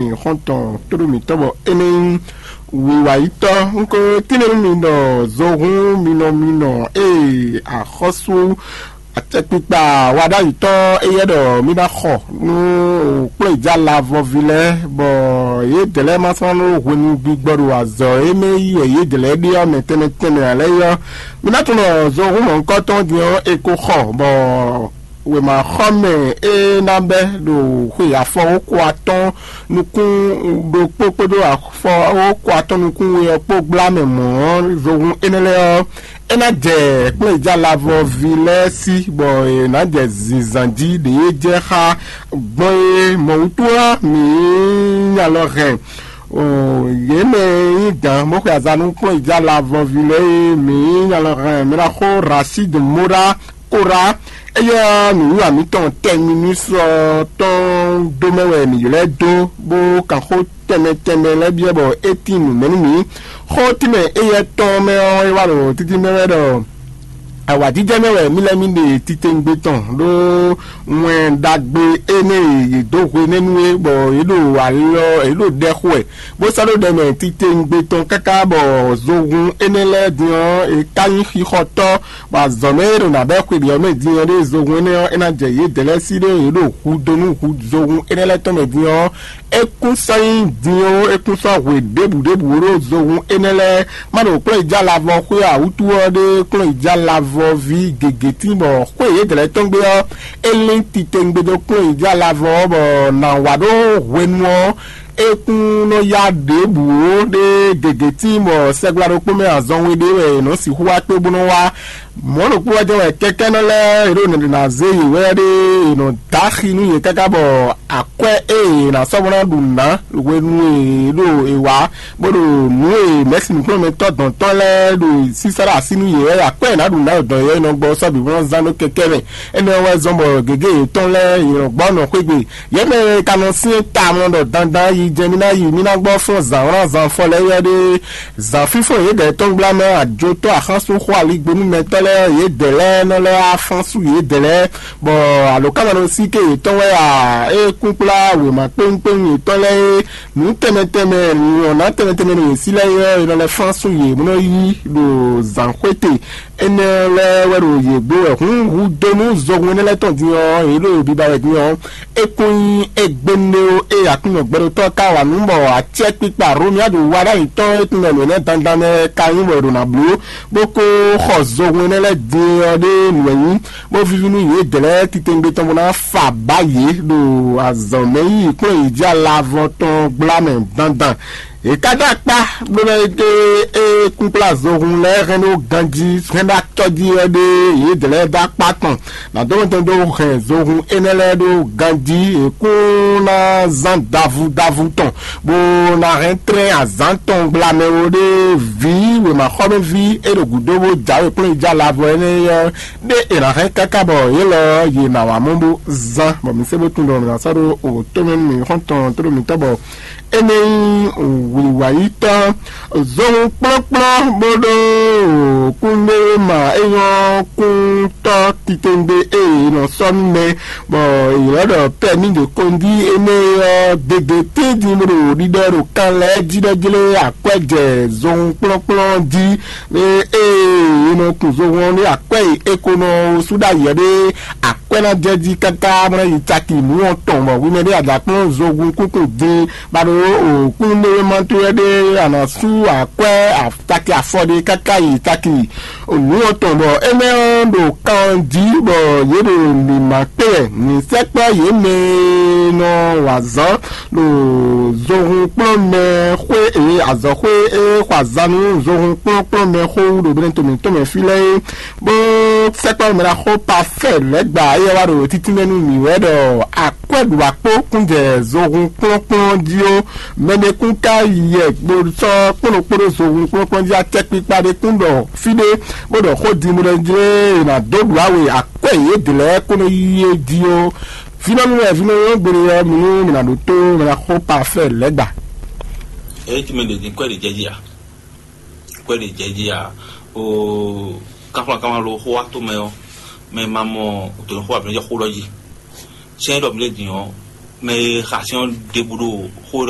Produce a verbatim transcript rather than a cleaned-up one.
xɔ́ntɔn tóɖó mǐtɔn bɔ é nɛ́ nyí wiwayítɔ́. Un ko tínmɛ nú mi ɖɔ zohún minɔ minɔ ee axɔ́sú acɛkpikpa wa ɖ'ayǐ tɔn éyɛ́ ɖɔ mì ná xɔ nú kplɔ́nyijá lavɔvi lɛ́ɛ, bɔ yědɛɛ lɛ́ɛ ma sɔ́ nɔ ɖó hwenu gbigbɔ ɖo azɔ̌ e mɛ yí wɛ yědɛɛ lɛ́ɛ ɖe ɔ́ mɛ tɛnmɛ tɛnmɛ ǎ lɛ́ɛ é ɔ́, mi ná tunwun ɖɔ zohún mɔ̌hunkɔtɔn din ɔ́, è ko xɔ, bɔ wěmaxɔmɛ e ná bɛ́ ɖo xwe afɔwókɔ atɔ́ɔ́n nukún ɖokpó kpódó afɔwókɔ atɔ́ɔ́n nukún we ɔ́ kpó gbla mɛ mɔ̌ ɔ́, zohún énɛ́ lɛ́ɛ ɔ́, é ná jɛ kplɔ́nyijá lavɔví lɛ́ɛ sí, bɔ è nǎ jɛ zǐnzán jí ɖě jɛ xá gbɔn é mɔ wútu ɔ́, mǐ nya lɔ hɛn yě mɛ e nyí gǎn bó xwe azǎn nú kplɔ́nyijá lavɔví lɛ́ɛ é, mǐ nya lɔ hɛn mǐ ná xó Rashid Mora Kora. Éyɛ́ ɔ́, nǔwiwa mǐtɔn tɛnmɛ nú sɔ tɔn dó mɛ wɛ mǐ ylɔ́ ɛ dó, bó kan xó tɛnmɛ tɛnmɛ lɛ́ɛ byɔ́ bɔ é tín nǔ mɛ nú mǐ. Xó tínmɛ éyɛ́ tɔn mɛ ɔ́, é wá ɖo títí mɛ wɛ ɖɔ awǎjijɛ mɛ wɛ mí lɛ́ mí ɖe titewungbe tɔn ɖó wɛn ɖagbe énɛ́ e yě dó hwenɛ́nu é, bɔ yě ɖo alɔ yě ɖo ɖɛ xo wɛ, bó sɔ́ ɖó ɖɛ mɛ titewungbe tɔn káká bɔ zohun énɛ́ lɛ́ɛ din ɔ́, è ká nyí xixɔtɔ́, bɔ azɔ̌ mɛ e ɖo nǎ bɛ́ xwe ɖě ɔ́ mɛ din ɔ́ ɖé zohun énɛ́ ɔ́, é ná jɛ yědɛɛ lɛ́ɛ sí ɖé yě ɖo hu dó nú hu zohun énɛ́ lɛ́ɛ tɔn mɛ din ɔ́, é kún sɔ́ nyí din ó, é kún sɔ́ hwe ɖěbǔ ɖěbǔ ó ɖó zohun énɛ́ lɛ́ɛ. Má ɖo kplɔ́nyijá lavɔ xwé ǎ wútu ɔ́ ɖé kplɔ́nyijá lavɔví gěgé tín bɔ xwé yědɛɛ lɛ́ɛ tɔn gbe ɔ́, é lín titewungbe dó kplɔ́nyijá lavɔ ɔ́, bɔ nǎ wa ɖó hwenu ɔ́, é kún nɔ yá ɖěbǔ ó ɖé gěgé tín bɔ sɛgbla ɖokpó mɛ azɔn we ɖé wɛ è nɔ sixú wá kpé bó nɔ wá. Mɔ̌ ɖokpó wɛ jɛ́n wɛ kɛkɛ́nɔ lɛ́ɛ e ɖo nɛɖe ná zé yě wɛ ɖé è nɔ dó axi nú yě káká bɔ akwɛ́ e è nǎ sɔ́ bó ná ɖu nǔ ná hwenu e è ɖo è wǎ, bó ɖo nǔ e mɛ̌si nǔkplɔ́nmɛtɔ́ dɔ̌n tɔn lɛ́ɛ ɖo sísá ɖo así nú yě wɛ akwɛ́ e è nǎ ɖu nǔ ná dɔ̌n yě nɔ gbɔ sɔ́ bǐ bó nɔ zán ɖó kɛkɛ́ mɛ. Énɛ́ ɔ́ wɛ zɔ́n bɔ gěgé yětɔn lɛ́ɛ yě nɔ gbɔ nɔ xwé gbe. Yě mɛ e ka nɔ syɛ́n tawun ɖɔ dandan yi jɛ mì ná yi mì ná gbɔ fɔ́n zǎn wlán zan fɔ lɛ́ɛ yɔ́ ɖé. Zǎn fífɔ́n yědɛɛ tɔn gbla mɛ ajotɔ́ axánsúnxó aligbónúmɛtɔ́ lɛ́ɛ yědɛɛ lɛ́ɛ nɔ lɛ́ wá fán sú yědɛɛ lɛ́ɛ, bɔ alǒkanmaɖósíké yětɔn wɛ a é kún kplá wěma kpéwúnkpéwún yětɔn lɛ́ɛ é, nǔ tɛnmɛ tɛnmɛ nyɔ̌ná tɛnmɛ tɛnmɛ ɖo yě sí lɛ́ɛ é ɔ́, è nɔ lɛ́ fán sú yě bó nɔ yí ɖo zǎnxwéte. Énɛ́ lɛ́ɛ wɛ ɖo yě gbo wɛ hǔn hu dó nú zohun énɛ́ lɛ́ɛ tɔn din ɔ́, yě ɖo biba wɛ din ɔ́, é kún nyí égbénúɖé ó, ée Aklúnɔ gbɛɖótɔ́ ka wa nǔ bɔ acɛ́kpikpa Romiadu wa ɖ'ayǐ tɔn e tunwun ɖɔ nǔ énɛ́ dandan mɛ ka nyí bɔ è ɖo nǎ bló, bó kó xɔ zohun énɛ́ lɛ́ɛ din ɔ́ ɖé nǔ wɛ nyí, bó víví nú yědɛɛ lɛ́ɛ titewungbe tɔn bó ná fa bǎ yě ɖo azɔ̌ mɛ yí kplɔ́n yě jí alavɔ tɔn gbla mɛ dandan. È ka ɖó akpá bó lɛ́ ɖe é kúnkplá zohun lɛ́ɛ hɛn ɖó ganjí hɛn ɖó acɔ́ jí wɛ ɖé yědɛɛ lɛ́ɛ dó akpá tɔn. Nǎ dó mɔtɔn dó hɛn zohun énɛ́ lɛ́ɛ ɖó ganjí è kún ná zán davu davu tɔn, bó ná hɛn tlɛ́n azǎn tɔn gblamɛ ó ɖé vǐ wěmaxɔmɛví e ɖo gǔdo bó jǎwe kplɔ́nyijá lavɔ énɛ́ ɔ́ ɖé è nǎ hɛn káká bɔ yě lɔ yě nǎ wá mɔ bó zán, bɔ mi se bó tunwun ɖɔ mǐ ná sɔ́ ɖó òwò tɔn mɛ nú mǐ xɔ́ntɔn tó ɖo mǐtɔn bɔ énɛ́ nyí wǐwayítɔ́. Zohun kplɔ́nkplɔ́n bó ɖó kúndéwéma e nyɔ́ kúntɔ́ titewungbe e è nɔ sɔ́ nú mɛ, bɔ è ylɔ́ ɖɔ pɛ́ ní ɖe kɔnjí énɛ́ ɔ́ gěgé tɛ́ntin bó ɖo ɖiɖɔ ɖo kan lɛ́ɛ jí ɖɔ jlé akwɛ́ jɛ zohun kplɔ́nkplɔ́n jí. Ée è nɔ kun zohun ɔ́ nú akwɛ́ e è ko nɔ sú ɖ'ayǐ ɔ́ ɖé, akwɛ́ ná jɛ jí káká bó ná yi caki nǔ ɔ́ tɔn, bɔ hwi mɛ ɖé a jǎ kplɔ́n zohun kúnkún din, bɔ a ɖo kúnnuɖewéma towe ɖé a nǎ sú akwɛ́ taki afɔ ɖé káká yi taki nǔ ɔ́ tɔn, bɔ énɛ́ ɔ́ ɖo kan jí, bɔ yě ɖo mǐmá kpé wɛ. Mǐ sɛkpɔ́ yě mɛ e nɔ wa azǎn ɖo zohunkplɔ́nmɛ xwé e azɔ̌xwé e xɔ azǎn nú zohunkplɔ́nkplɔ́nmɛ xó wú ɖo Benɛto mǐtɔn mɛ fí lɛ́ɛ é, bó sɛkpɔ́ mɛ ná xó Pafɛ́ɛ lɛ́ɛ gba éyɛ́ wá ɖo títínmɛ nú mǐ wɛ ɖɔ akwɛ́ ɖu akpó kún jɛ zohun kplɔ́nkplɔ́n jí ó. Mɛ ɖé kún ka yɛ bó sɔ́ kplɔ́nkplɔ́n zohun kplɔ́nkplɔ́n jí acɛkpikpa ɖé kún ɖɔ fí ɖé, bó ɖɔ xó din bó ɖɔ jlé è nǎ dó ɖu awe akwɛ́ yědɛɛ lɛ́ɛ kó nɔ yí é jí ó. Vínɔ́nú wɛ vínɔ́nú gbére ɔ́, mi nú mi nǎ ɖótó mɛ ná xó Pafɛ́ɛ lɛ́ɛ gba. Eye tí mɛ ɖě dín kwɛ́ ɖě jɛ jí a? Kwɛ́ ɖě jɛ jí a? O káflán káflán ló xó wá tó mɛ ɔ́, mɛ ma mɔ òtò xó àbí jɛ xó lɔ jí. Sɛ́n ɖɔ mi lé din ɔ́, mɛ e xa sɛ́n ɔ́ ɖěbǔ ɖo xó ɖɔ